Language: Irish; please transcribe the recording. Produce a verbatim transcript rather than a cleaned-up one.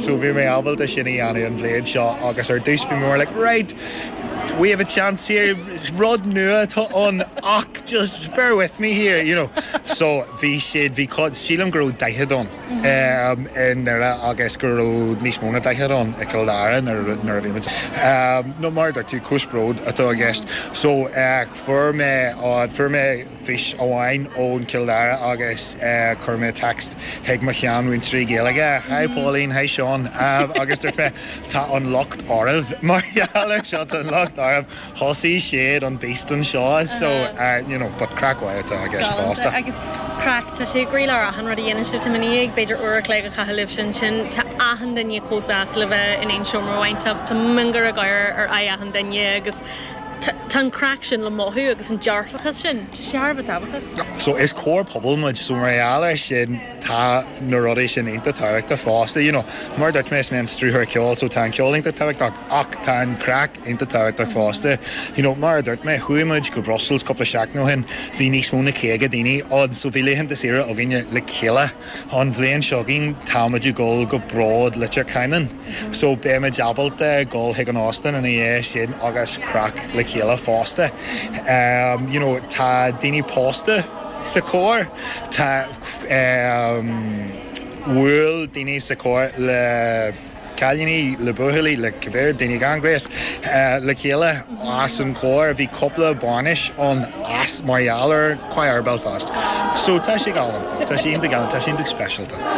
So bhí mé ábalta sin a dhéanamh an bhliain seo agus ar dtús bhí more like right we have a chance here rud nua tá an ach just bear with me here you know so bhí siad bhí sílim go raibh daichead ann um, in Doire agus go raibh níos mó ná daichead ann i gCill Dara nuair a bhí muid. Um, no mar tú cúisbród atá i gceist. So uh, fuair mé fuair mé fís amháin ón Cill Dara agus uh, chuir mé text chuig mo sheanmhúinteoirí Gaeilge. Hi Pauline, hi Sean um, agus dúirt mé tá an locht oraibh mar gheall seo an locht oraibh thosaigh siad an beast anseo so uh, you know, but craic atá i gceist fosta. agus craic tá sé gríar achan rud a dhéanann sibh tá ní b'fhéidir uair an chloig a chaitheamh libh sin sin tá achan duine chomh sásta le bheith in aon seomra amháin tá miongháire ar aghaidh achan duine agus tá an craic sin le mothú agus an dearfachas sin Tá sé thar a bheith tábhachtach. So is cór pobail muid so mar gheall sin tá na rudaí sin iontach tábhachtach fosta you know, mar dúirt mé mé an stiúrthóir ceoil so tá ceol iontach tábhachtach ach tá an craic iontach tábhachtach fosta. You know, mar dúirt mé chuaigh muid go Brussels cúpla seachtain ó shin bhí níos mó ná caoga daoine ann so bhí laethanta saoire againne le chéile an bhliain seo chugainn táimid ag dul go Bród Leitir Ceanainn. So beimid ábalta dul chuig an óstán ina dhiaidh sin agus craic le chéile fosta. Um, you know, tá daoine pósta sa cór tá um, bhfuil daoine sa cór le cailíní le buachaillí le cibé daoine gan ghnéas uh, le chéile as an cór bhí cúpla bainis ann as mar gheall ar Choir Belfast. So tá sé galánta, Tá sé galánta, tá sé speisialta.